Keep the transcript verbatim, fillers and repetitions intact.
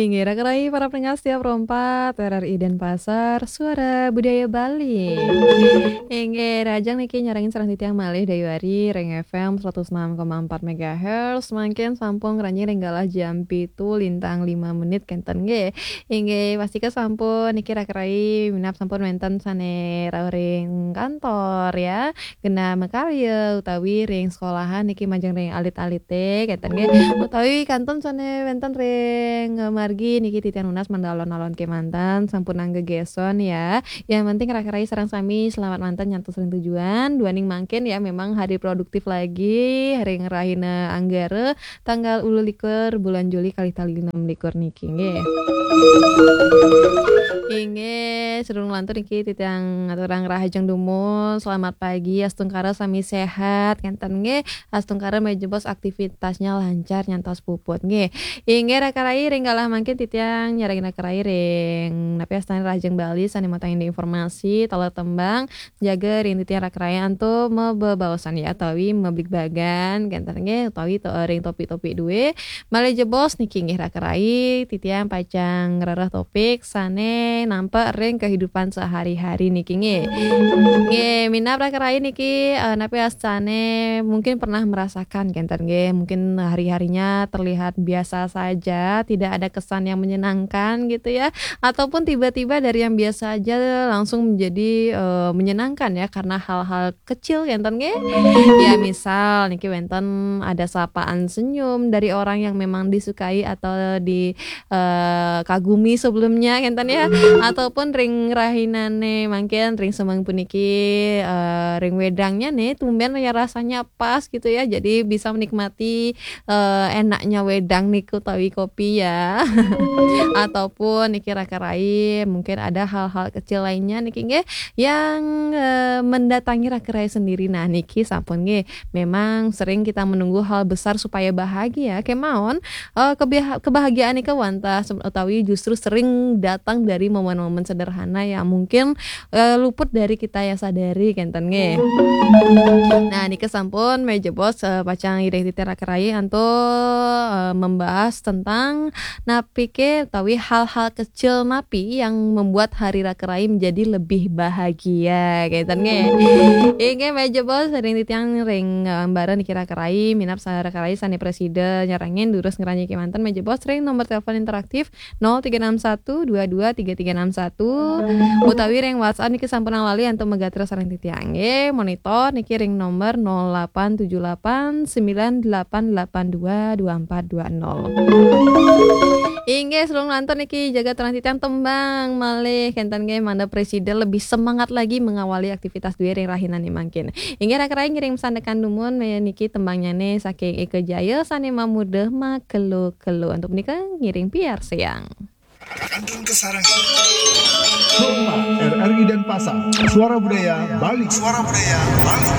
Inggih, raka rai para pendengar setia Pro empat, R R I Denpasar, Suara Budaya Bali. Inggih, rahajeng niki nyarengin sareng titiang malih Dayuari ring F M seratus enam koma empat megahertz, mangkin sampun ngranjing ring galah jam pitu lintang lima menit kenten nggih. Inggih, pastika sampun niki raka rai minab sampun wenten sane rauh ring kantor ya, genah makarya utawi ring sekolahan niki majeng ring alit-alite kenten nggih, utawi kantun sane wenten ring, eh, margi niki titiang nunas mangda alon-alon kemanten sampun angga geson ya. Yang penting raka rai sareng sami selamat manten nyantos ring tujuan. Duaning mangkin ya memang hari produktif lagi ring rahina Anggara tanggal ulu likur bulan Juli kalih tali enam likur niki nggih. Inggih, sadurung lantur niki titiang ngaturang rahajeng dumun, selamat pagi, astungkara sami sehat kenten nggih. Astungkara malih jebos aktivitasnya lancar nyantos puput nggih. Inggih raka rai ring galah mangkin titiang nyarengin raka rai ring napi astane Rahajeng Bali sane matangin informasi taler tembang jaga ring titiang raka rai antuk mabebaosan ya utawi mabligbagan kenten nggih utawi to ring topik-topik due. Malih jebos niki nggih raka rai titiang pacang ngrereh topik sane nampek ring kehidupan sehari-hari niki nggih. Nggih, minab raka rai niki, eh, napi astane mungkin pernah merasakan kenten nggih, mungkin hari-harinya terlihat biasa saja, tidak ada kesan yang menyenangkan gitu ya, ataupun tiba-tiba dari yang biasa aja langsung menjadi, eh, menyenangkan ya karena hal-hal kecil kenten nggih. Ya misal niki wenten ada sapaan senyum dari orang yang memang disukai atau di, eh, kagumi sebelumnya kenten ya, ataupun ring rahinane mangkin ring semeng puniki, eh, ring wedangnya nih tumben ya rasanya pas gitu ya, jadi bisa menikmati, eh, enaknya wedang niku utawi kopi ya. Ataupun niki raka rai mungkin ada hal-hal kecil lainnya niki nggih yang, eh, mendatangi raka rai sendiri. Nah niki sampun nggih memang sering kita menunggu hal besar supaya bahagia kemawon, eh, kebah- kebahagiaan nika wantah se- utawi justru sering datang dari momen-momen sederhana yang mungkin, eh, luput dari kita yang sadari kenten nggih. Nah niki sampun malih jebos, eh, pacang ngiring titiang raka rai antuk, eh, membahas tentang napike utawi hal-hal kecil napi yang membuat hari raka rai menjadi lebih bahagia kenten nggih. Inggih malih jebos ring titiang ring, eh, ambara niki raka rai minab sa- raka rai sane prasida nyarengin durus ngranjing kemanten malih jebos ring nomor telepon interaktif nol tiga enam satu dua dua tiga tiga enam satu utawi ring WhatsApp niki sampun lali antuk magatra sareng titiang nggih. Monitor niki ring nomor nol delapan tujuh delapan sembilan delapan delapan dua dua empat dua nol. Inggih, sadurung lantur niki jaga turang titiang tembang malih kenten nggih mangda prasida lebih semangat lagi mengawali aktivitas due ring rahinane mangkin. Inggih raka rai ngiring sandekan dumun meniki tembangnyane saking Eka Jaya sane mamurda Makelo-kelo. Antuk punika ngiring piarsayang. Kantun kasarengin. Pro empat, R R I Denpasar, Suara Budaya Bali. Suara Budaya Bali.